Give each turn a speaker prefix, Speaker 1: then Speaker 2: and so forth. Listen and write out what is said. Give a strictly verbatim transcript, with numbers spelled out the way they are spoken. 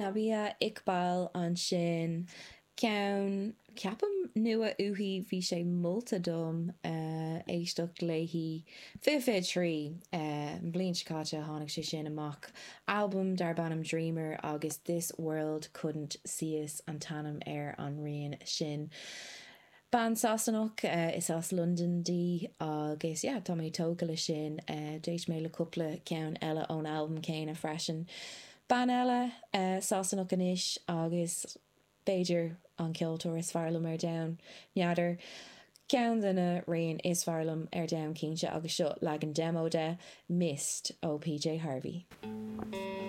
Speaker 1: Nabihah Iqbal ansin ceann ceapaim nua uaithi bhí sé molta dom uh, éisteacht léi fiche fiche trí uh, an bhliain seo caite tháinig sé sin amach album darb ainm Dreamer agus This World Couldn't See Us an t-ainm ar an rian sin. Bean Sasanach uh, is as London di agus yeah, tá mé tógtha le sin uh, d'éist mé le cúpla ceann eile ón album céanna freisin. Bean eile uh, Sasanach anois agus b'fhéidir an ceoltóir is fearr liom ar domhan n'fheadar. Ceann de na rian is fearr liom ar domhan cinnte agus seo leagan demo de Mist ó PJ Harvey.